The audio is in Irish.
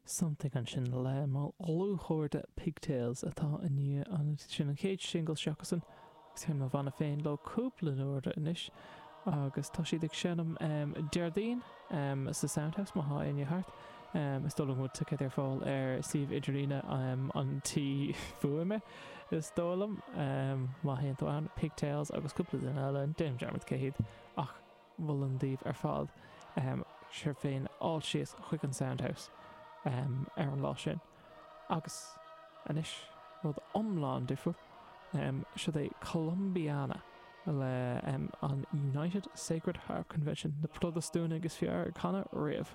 Something ansin le mo dhlúthchairde Pigtails atá i ndiaidh an, sin an chéad singil s'acusan agus sheinn mo bhanna féin leo cúpla uair anois agus tá siad ag seinm Déardaoin sa Soundhouse má thá éinne thart. Is dóigh liom go bhfuil ticéid ar fáil ar suíomh idirlíne an tí fuaime is dóigh liom má théann tú ann, Pigtails agus cúpla duine eile, déanaim dearmad cé hiad ach. Mholfainn daoibh ar fad sibh féin a fháil síos chuig an Soundhouse ar an lá sin. Agus anois, rud iomlán difriúil, siod é Columbiana le an United Sacred Harp Convention, na Protastúnaigh is fearr ag canadh riamh.